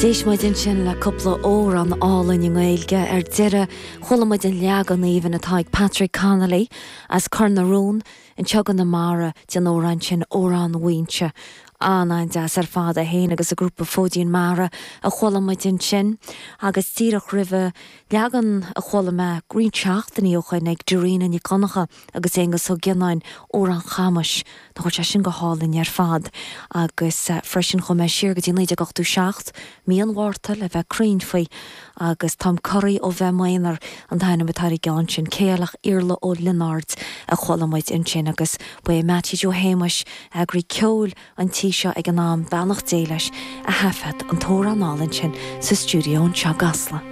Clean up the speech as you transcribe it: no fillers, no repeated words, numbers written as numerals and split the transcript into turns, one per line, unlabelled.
D'éist muid ansin le cúpla amhrán álainn i nGaeilge. Ar deireadh, chuala muid an leagan aoibhinn atá ag Patrick Connolly as Cor na Rón anseo i gConamara den amhrán sin, Amhrán Mhaínse. An-an-deas ar fad, é féin agus a ghrúpa Fóidín Mara a chuala muid ansin. Agus díreach roimhe, leagan a chuala mé roinnt seachtainí ó shoin ag Dairena Nic Dhonncha agus Aonghus Ó Gionnáin, Amhrán Chamuis. Nach bhfuil sé sin go hálainn ar fad? Agus freisin chuaigh mé siar go dtí 1987, mí an Mhárta le bheith cruinn faoi, agus Táim Corraithe ó Bheith M'Aonar an t-ainm atá ar an gceann sin, Ceilteach Iarla Ó Lionáird a chuala muid ansin agus ba é Mattie Joe Shéamuis, eagraí ceoil an tí seo ag an am, beannacht Dé leis, a thaifead an t-amhrán álainn sin sa stiúideo anseo i gCasla.